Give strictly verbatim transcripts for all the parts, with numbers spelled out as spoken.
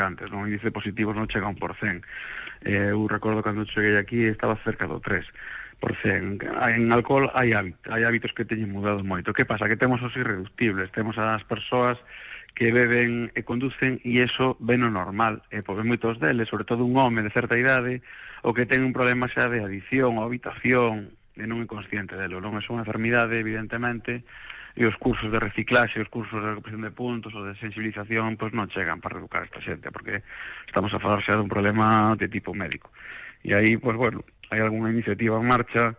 antes, non? O índice de positivos non chega a un por cen. Eh, eu recordo cando cheguei aquí estaba cerca do tres por cen. En alcohol hai hábitos, hai hábitos que teñen mudado moito. Que pasa? Que temos os irreductibles, temos as persoas que beben e conducen e iso ven o normal, e porque moitos deles, sobre todo un home de certa idade, o que ten un problema xa de adicción ou habitación e non é consciente delo, non é unha enfermidade, evidentemente, e os cursos de reciclaxe, os cursos de recuperación de puntos ou de sensibilización, pois non chegan para reeducar esta xente, porque estamos a falar xa dun problema de tipo médico. E aí, pois bueno, hai algunha iniciativa en marcha,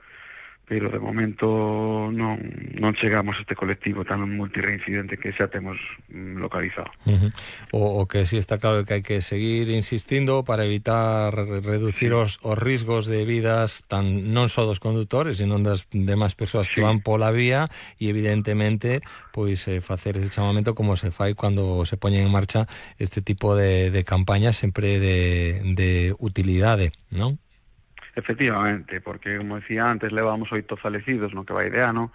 pero de momento non, non chegamos a este colectivo tan multireincidente que xa temos localizado. Uh-huh. O, o que sí está claro que hai que seguir insistindo para evitar reducir sí. os, os risgos de vidas tan non só dos condutores, sino das demais persoas sí. que van pola vía, e evidentemente pois eh, facer ese chamamento como se fai cando se poñen en marcha este tipo de, de campañas sempre de, de utilidade, non? Efectivamente, porque, como decía antes, levamos oito falecidos no que vai de ano,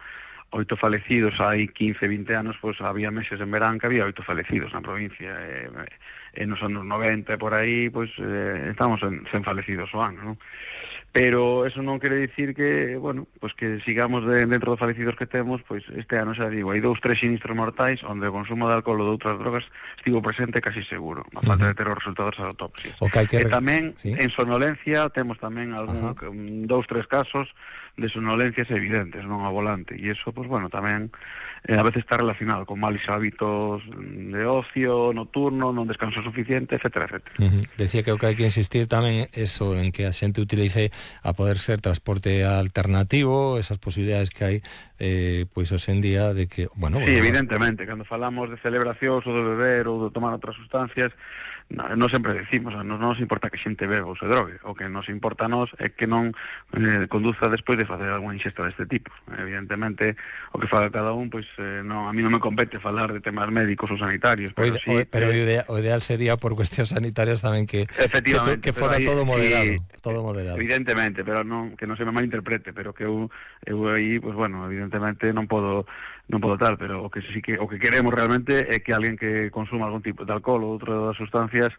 oito falecidos hai quince, vinte anos, pois había meses en verán que había oito falecidos na provincia, e, e nos anos noventa, por aí, pois eh, estamos en cen falecidos o ano, non? Pero eso non quere dicir que, bueno, pois que sigamos de, dentro dos falecidos que temos, pois este ano xa digo, hai dous, tres sinistros mortais onde o consumo de alcohol ou de outras drogas estivo presente casi seguro, a falta uh-huh. de ter os resultados das autopsias. Okay, que... E tamén, ¿sí? en sonolencia, temos tamén algún, uh-huh. dous, tres casos de sonolencias evidentes, non ao volante, e iso, pois bueno, tamén eh, a veces está relacionado con malos hábitos de ocio, nocturno, non descanso suficiente, etcétera, etcétera. Uh-huh. Decía que o que hai que insistir tamén eso, en que a xente utilice a poder ser transporte alternativo, esas posibilidades que hai eh, pois hoxe en día de que, bueno... Sí, bueno, evidentemente, cando falamos de celebracións ou de beber ou de tomar outras sustancias, non no sempre decimos, non nos importa que xente beba ou se drogue, o que nos importa a nos é que non eh, conduza despois de facer algunha ingesta deste tipo. Evidentemente, o que faga cada un, pois eh, non, a mí non me compete falar de temas médicos ou sanitarios, pero o, sí, o, pero eh, o, ideal, o ideal sería por cuestións sanitarias tamén que que, que fora aí, todo moderado, sí, todo moderado. Evidentemente, pero non que non se me malinterprete, pero que eu eu aí, pois bueno, evidentemente non podo non podo tal, pero o que sí que o que queremos realmente é que alguén que consuma algún tipo de alcohol ou outras sustancias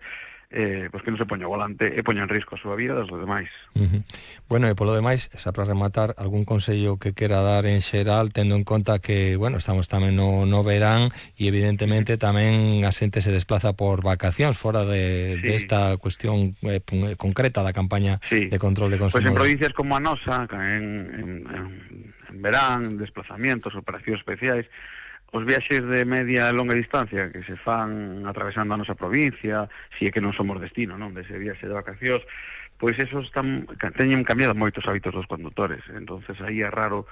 eh, pois que non se poña ao volante e poña en risco a súa vida das demais. Uh-huh. Bueno, e polo demais, xa para rematar, algún consello que quera dar en xeral, tendo en conta que, bueno, estamos tamén no, no verán e evidentemente tamén a xente se desplaza por vacacións fora de, sí. de esta cuestión eh, concreta da campaña sí. de control de consumo. Pois en provincias como a nosa, en, en, en, en verán, desplazamientos, operacións especiais, os viaxes de media e longa distancia que se fan atravesando a nosa provincia, si é que non somos destino, non, dese viaxe de vacacións, pois esos están, teñen cambiado moitos hábitos dos condutores, entonces aí é raro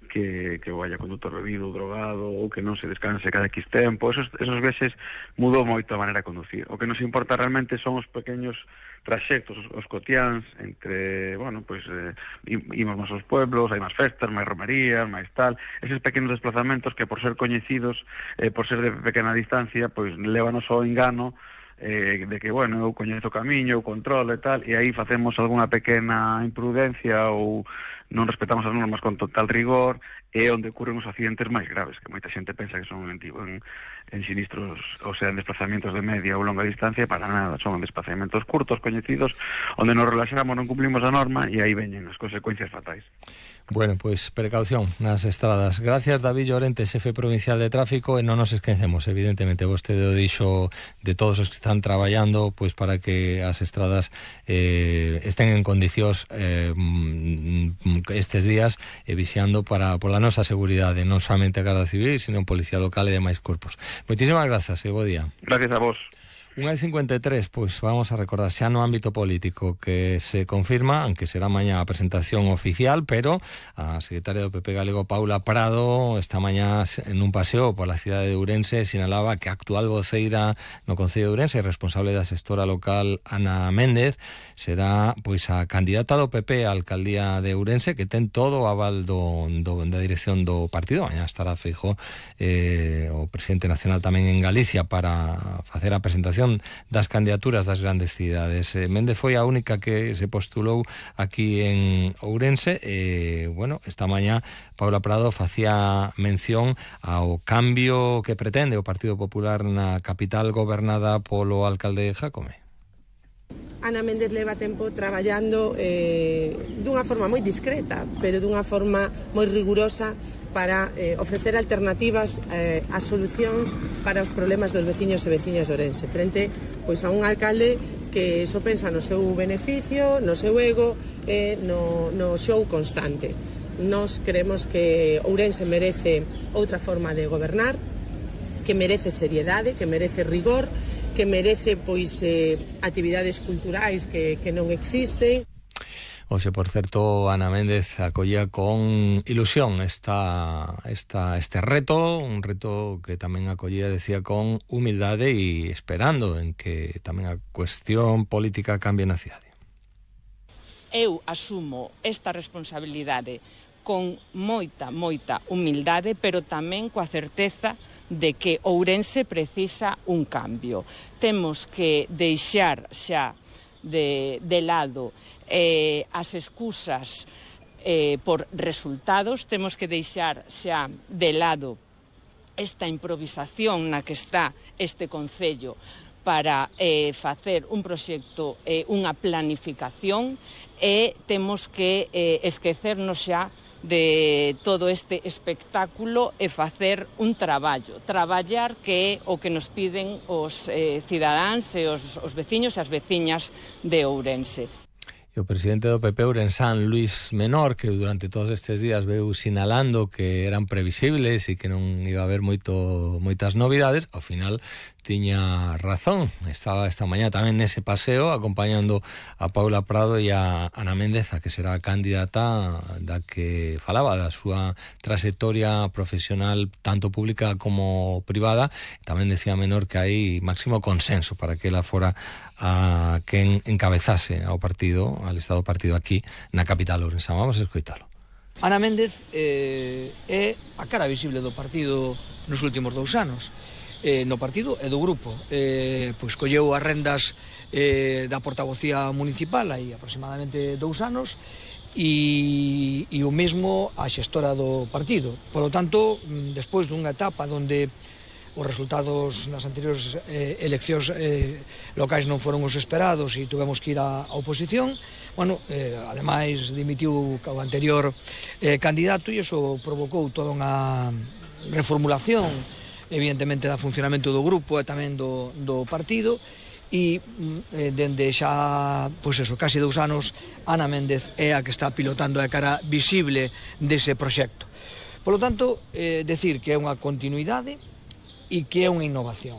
que, que vaya condutor bebido ou drogado ou que non se descanse cada X tempo. Esos, esos viaxes mudou moito a maneira de conducir. O que nos importa realmente son os pequeños traxectos, os, os cotiáns entre, bueno, pois eh, imos máis aos pueblos, hai máis festas, máis romerías, máis tal, eses pequenos desplazamentos que por ser coñecidos, eh, por ser de pequena distancia, pois lévanos ao engano eh, de que, bueno, eu coñezo o camiño, eu controlo e tal, e aí facemos algunha pequena imprudencia ou non respetamos as normas con total rigor, e onde ocurren os accidentes máis graves, que moita xente pensa que son en, en, en sinistros, ou sea, en desplazamientos de media ou longa distancia, para nada, son en desplazamentos curtos, coñecidos, onde nos relaxamos, non cumplimos a norma, e aí veñen as consecuencias fatais. Bueno, pois pues, precaución nas estradas. Gracias, David Llorente, xefe provincial de tráfico, e non nos esquecemos, evidentemente, vostede o dixo de todos os que están traballando pois para que as estradas eh, estén en condicións eh, estes días e vixiando para pola nosa seguridade, non somente a Garda Civil, sino a Policía Local e demais corpos. Moitísimas grazas e bo día. Gracias a vos. unha e cincuenta e tres, pois vamos a recordar xa no ámbito político que se confirma, aunque será mañá a presentación oficial, pero a secretaria do P P galego, Paula Prado, esta mañá en un paseo pola cidade de Ourense sinalaba que a actual voceira no Concello de Ourense, responsable da xestora local Ana Méndez, será pois a candidata do P P á alcaldía de Ourense, que ten todo o aval do, do, da dirección do partido. Mañá estará Feijóo, eh, o presidente nacional tamén en Galicia para facer a presentación aprobación das candidaturas das grandes cidades. Eh, Méndez foi a única que se postulou aquí en Ourense. E, bueno, esta mañá Paula Prado facía mención ao cambio que pretende o Partido Popular na capital gobernada polo alcalde Jácome. Ana Méndez leva tempo traballando eh, dunha forma moi discreta, pero dunha forma moi rigurosa para eh, ofrecer alternativas eh, a solucións para os problemas dos veciños e veciñas de Ourense, frente pois, a un alcalde que só pensa no seu beneficio, no seu ego e no, no show constante. Nós creemos que Ourense merece outra forma de gobernar, que merece seriedade, que merece rigor, que merece pois eh, actividades culturais que, que non existen. Oxe, por certo, Ana Méndez acollía con ilusión esta, esta, este reto, un reto que tamén acollía, decía, con humildade e esperando en que tamén a cuestión política cambie na cidade. Eu asumo esta responsabilidade con moita, moita humildade, pero tamén coa certeza de que Ourense precisa un cambio. Temos que deixar xa de, de lado eh, as excusas eh, por resultados, temos que deixar xa de lado esta improvisación na que está este concello para eh, facer un proxecto, eh, unha planificación, e temos que eh, esquecernos xa de todo este espectáculo e facer un traballo, traballar que é o que nos piden os eh, cidadáns e os, os veciños e as veciñas de Ourense. E o presidente do P P ourensán, Luís Menor, que durante todos estes días veu sinalando que eran previsibles e que non iba a haber moito, moitas novidades, ao final tiña razón. Estaba esta mañá tamén nese paseo acompañando a Paula Prado e a Ana Méndez, a que será a candidata da que falaba, da súa trayectoria profesional tanto pública como privada. Tamén decía Menor que hai máximo consenso para que ela fora a quen encabezase ao partido, al estado partido aquí na capital ourensán. Vamos a escoitalo. Ana Méndez eh, é a cara visible do partido nos últimos dous anos. Eh, no partido e do grupo. Eh, pois colleu as rendas eh, da portavocía municipal aí aproximadamente dous anos e, e o mesmo a xestora do partido. Por lo tanto, despois dunha etapa onde os resultados nas anteriores eh, eleccións eh, locais non foron os esperados e tuvemos que ir á oposición, bueno, eh, ademais dimitiu o anterior eh, candidato e iso provocou toda unha reformulación evidentemente da funcionamento do grupo e tamén do, do partido e eh, dende xa, pois eso, casi dous anos Ana Méndez é a que está pilotando a cara visible dese proxecto. Por lo tanto, eh, decir que é unha continuidade e que é unha innovación.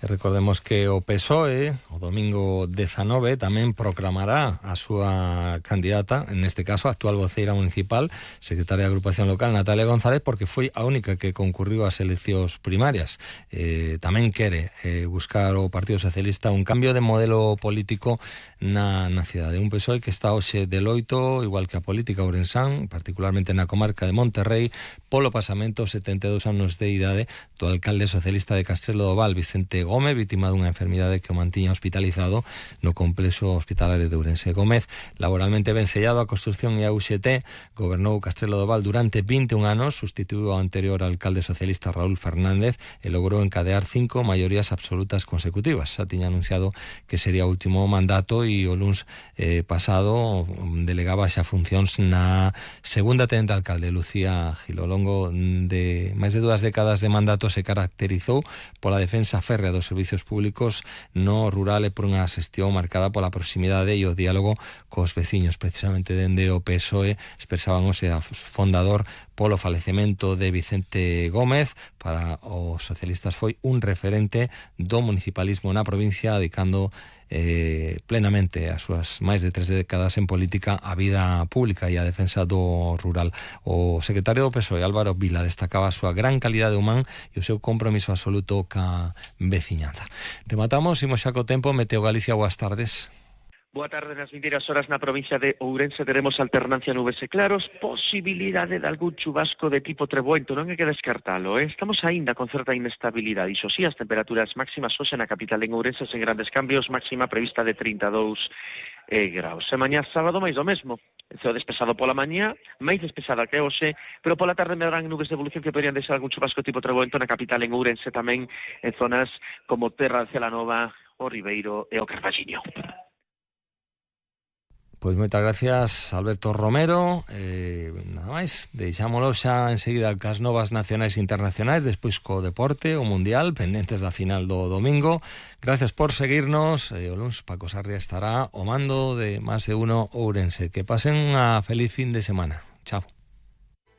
E recordemos que o P S O E o domingo dezanove tamén proclamará a súa candidata, en este caso a actual voceira municipal, secretaria de agrupación local, Natalia González, porque foi a única que concurriu ás eleccións primarias. Eh, tamén quere eh, buscar o Partido Socialista un cambio de modelo político na, na cidade. Un P S O E que está hoxe de loito, igual que a política ourensán, particularmente na comarca de Monterrey, polo pasamento setenta e dous anos de idade do alcalde socialista de Castrelo do Val, Vicente Gómez, vítima dunha enfermidade que o mantiña hospitalizado no complexo hospitalario de Ourense. Gómez, laboralmente vencellado á construción e á U X T, gobernou Castrelo do Val durante vinte e un anos, sustituiu ao anterior alcalde socialista Raúl Fernández e logrou encadear cinco maiorías absolutas consecutivas. Xa tiña anunciado que sería o último mandato e o luns eh, pasado delegaba xa funcións na segunda tenente alcalde, Lucía Gil. Ao longo de máis de dúas décadas de mandato se caracterizou pola defensa férrea dos servicios públicos no rural e por unha xestión marcada pola proximidade e o diálogo cos veciños. Precisamente dende o P S O E expresaban o sea fundador polo falecemento de Vicente Gómez. Para os socialistas foi un referente do municipalismo na provincia, dedicando eh, plenamente as súas máis de tres décadas en política á vida pública e á defensa do rural. O secretario do P S O E, Álvaro Vila, destacaba a súa gran calidade humán e o seu compromiso absoluto ca veciñanza. Rematamos, imos xa co tempo. Meteo Galicia, boas tardes. Boa tarde. Nas vindeiras horas na provincia de Ourense teremos alternancia nubes e claros, posibilidade de algún chubasco de tipo treboento, non hai que descartalo, eh? Estamos aínda con certa inestabilidade, iso sí, as temperaturas máximas hoxe na capital en Ourense sen grandes cambios, máxima prevista de trinta e dous eh, graus. E mañá sábado máis do mesmo, ceo despexado pola mañá, máis despexada que hoxe, pero pola tarde medrarán nubes de evolución que poderían deixar algún chubasco tipo treboento na capital en Ourense, tamén en zonas como Terra de Celanova, o Ribeiro e o Carballiño. Pois moitas gracias, Alberto Romero. Eh, nada máis, deixámolo xa enseguida cas novas nacionais e internacionais, despois co deporte, o Mundial, pendentes da final do domingo. Gracias por seguirnos. Eh, o luns Paco Sarria estará o mando de Más de Uno Ourense. Que pasen unha feliz fin de semana. Chao.